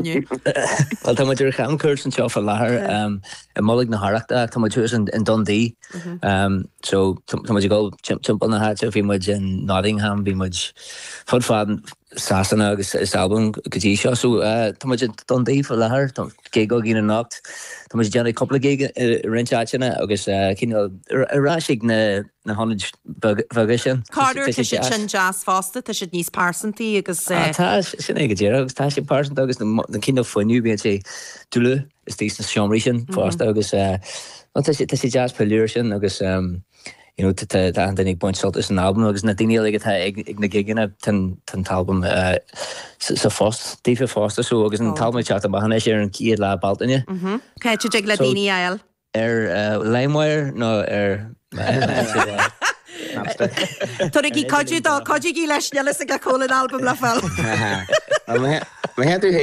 inniu? Bhuel, tá muid ar chamchuairt anseo faoi láthair i mbolg na hArrachta ach tá muid thuas in Dundee. So tá muid ag dul timpeall na háite, bhí muid in Nottingham, bhí muid fud fad Sasana agus is Albain go dtí seo. So tá muid in Dundee faoi láthair, tá gig againn anocht, tá muid ag déanamh cúpla gig i roinnt áiteanna agus cineál ar ais ag na na hionaid bheaga sin. Corruair tá siad sin deas fosta, tá siad níos pearsantaí agus. Ah tá, sin é go díreach agus tá sé pearsanta agus na cineál fuinneamh bíonn sé dlúth istigh sna seomraí sin fosta agus tá sé tá sé deas pilleadh air sin agus you know tá tá achan duine ag baint sult as an albam agus na daoine uilig atá ag ag na gigeanna tá an tá an t-albam sa phost daofa fosta so agus an t-albam ag teacht amach anois ar an chéad lá Bealtaine. Cá háit a dtig le daoine é a fháil? Ar LimeWire nó ar Napster? Tabhairigí cuidiú dó, cuidígí leis, níl fhios aige cá bhfuil an albam le fáil. Má théann tú chuig.